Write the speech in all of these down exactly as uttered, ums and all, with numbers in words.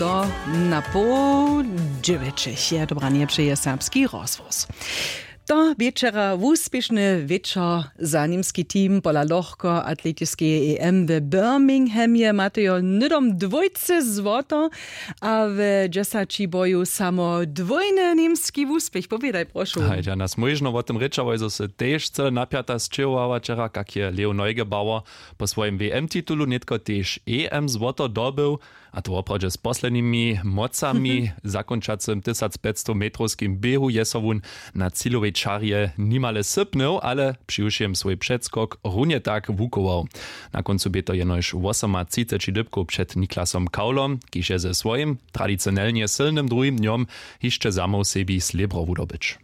To na poł dźewjećich je dobranje přeje serbski rozhłos. To wječera wuspěšny wječor za němski team pola lochkoatletiskeje em w birminghamje matejo hnydom dwójce złoto, a w dźesaći boju samo dwójny němski wuspěch. Powědaj, prošu. Hajda nas móžno wo tym rěčałoj zo se tež cyle napjata sćěhowała wčera, kak je leo neugebauer po swojim w m titulu nětko tež e m złoto dobył, a to woprawdźe z poslednimi mocami. W zakónčacym tysacpjećstometrowskim běhu je so wón na cilowej čarje nimale sypnył, ale přiwšěm swój předskok runje tak wuchował. Na kóncu bě to jenož wosomatřiceći dypkow před niklasom kaulom, kiž je ze swojim tradicionelnje sylnym druhim dnjom hišće zamoł sebi slěbro wudobyć.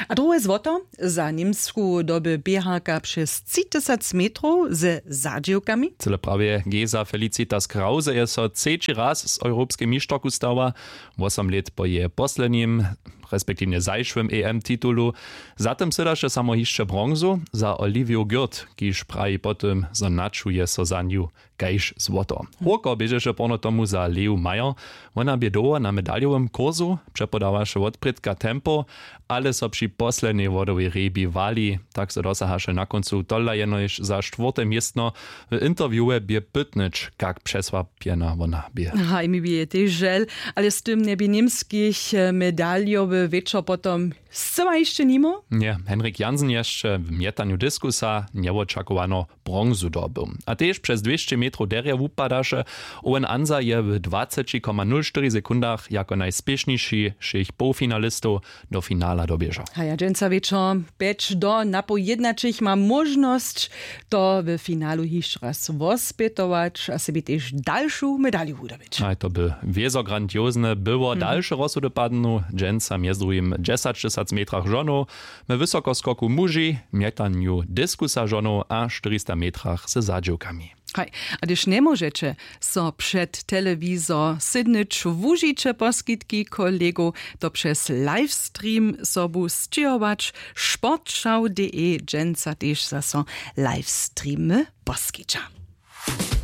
A druhe złoto za němsku doby běharka přez tři tysac metrow ze zadźěwkami. Cyle prawje geza felicitas krause je so třeći raz z europskej mišterku stała, wosom lět po jeje poslednim respektiwnje zašłym e m titulu. Za tym sydaše samo hišće bronzu za oliviju gyrt, kiž praji po tym zo načuje so za nju kaž złoto. Hórko běžeše porno tomu za leu majer. Wona bě dołho na medaljowym kursu, přepodawaše wotprědka tempo, ale so při poslednjej wodowej rjebi wali. Tak so dosahaše na kóncu tola jenož za štwórte městno. W interviewe bě pytnyć, kak přesłapjena wona bě. Haj, mi bě tež žel, ale z tym njebi němskich medaljowy wječor potom scyła hišće nimo. Nje, henrik jansen je hišće w mjetanju diskusa njewočakowano bronzu dobył, a tež přez dwěsće metrow derje wupadaše. Owen ansa je w dwaceći koma nul štyri sekundach jako najspěšniši wšěch połfinalistow do finala doběžał. Haja dźensa wječor pjeć do napoł jědnaćich ma móžnosć to w finalu hišće raz wospjetować a sebi tež dalšu medalju wudobyć. Haj, to by wězo grandiozne było. Dalše rozsudy padnu dźensa mjez druhim dźesaćtysac metrach žonow, we wysokoskoku muži, mjetanju diskusa žonow a štyrista metrach ze zadźěwkami. Haj, a hdyž njemóžeće so před telewizor sydnyć, wužiće poskitki kolegow, to přez livestream sobu sćěhować. Sportschau.de dźensa tež zaso livestreamy poskića.